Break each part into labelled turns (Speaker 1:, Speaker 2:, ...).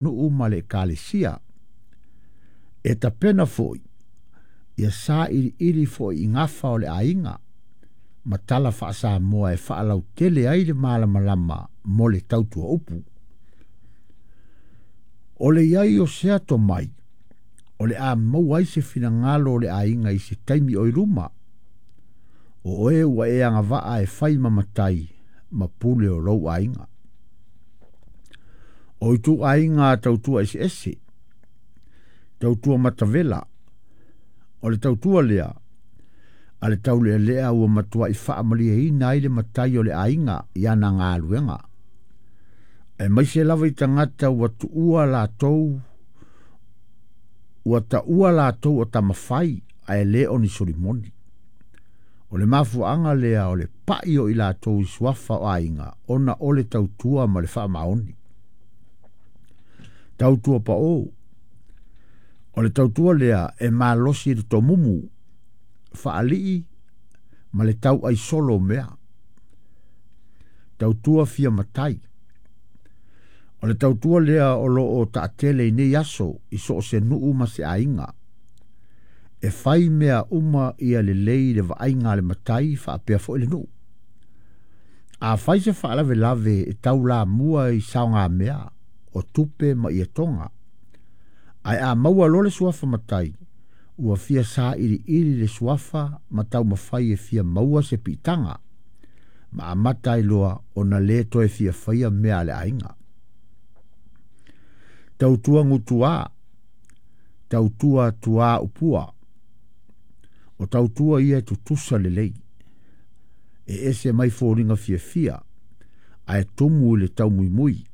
Speaker 1: Nuu ma le Ekalesia. E tapena foi ia sailiili foi i gafa o le aiga ma tala faa-Samoa e faalautele ai le malamalama mo le tautua upu. O le i ai o sea tomai, o le a maua ai se finagalo o le aiga i se taimi o i luma. O oe ua e agavaa e fai ma matai ma pule o lou aiga. O ituaiga tautua eseese, tautua matavela, o le tautua lea, a le taulealea ua matuai faamalieina ai le matai o le aiga i ana galuega. Aemaise lava i tagata ua tuua latou, ua taua latou o tamafai ae le o ni solimoni. O le mafuaaga lea o le pai o i latou i suafa o aiga ona o le tautua ma le faamaoni. Tautua pao. O le tautua lea e malosi i le tomumu, faalii ma le tauai solo o mea. Tautua fia matai. O le tautua lea o lo o taatele i nei aso i so o se nuu ma se aiga. E fai mea uma ia lelei i le vaaiga a le matai faapea foi le nuu. A fai se faalavelave e taulamua i saogamea o tupe ma ietoga, ae a maua loa le suafa matai, ua fia sailiili le suafa ma taumafai e fia maua se piitaga, ma amata ai loa ona le toe fia faia mea a le aiga. Tautua gutuā, tautua tuā upua. O tautua ia e tutusa lelei, e ese mai foliga fiafia, ae tumu i le taumuimui.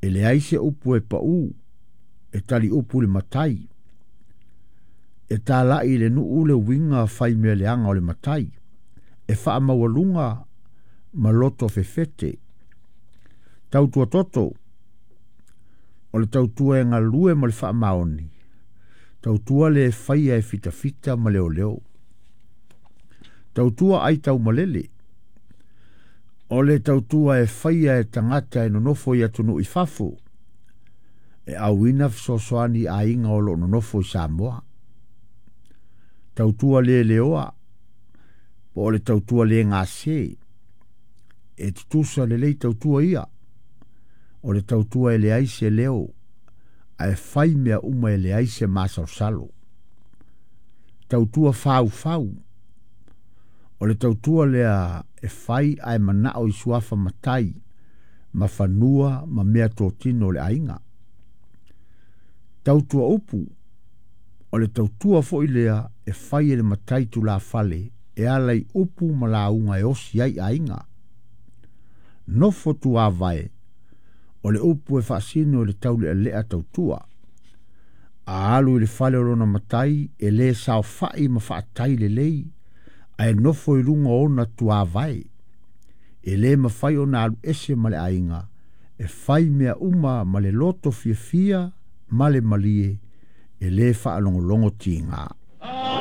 Speaker 1: E leai se upu e pau, e tali upu i le matai, e talai i le nuu le uiga fai mea leaga o le matai, e faamaualuga ma loto fefete. Tautua toto, o le tautua e galue ma le faamaoni, tautua le faia e fitafita ma leoleo. Tautua ai taumalele, o le tautua e faia e tagata e nonofo i atunuu i fafo, e auina fesoasoani i aiga o lo o nonofo i Samoa. Tautua le leoa, po o le tautua le gase, e tutusa lelei tautua ia, o le tautua e leai se leo, ae fai mea uma e leai se masalosalo. Tautua faufau, o le tautua lea e fai ae manao i suafa matai, ma fanua ma mea totino o le aiga. Tautua upu, o le tautua foi lea e fai e le matai tulafale e ala i upu ma lauga e osi ai aiga. Nofo tuavae, o le upu e faasino i le taulealea tautua. A alu i le fale o lona matai, e le saofai ma faatai lelei, ae nofo i luga o ona tuavae. E le mafai ona alu ese ma le aiga, e fai mea uma ma le loto fiafia ma le malie, e le faalogologo tiga.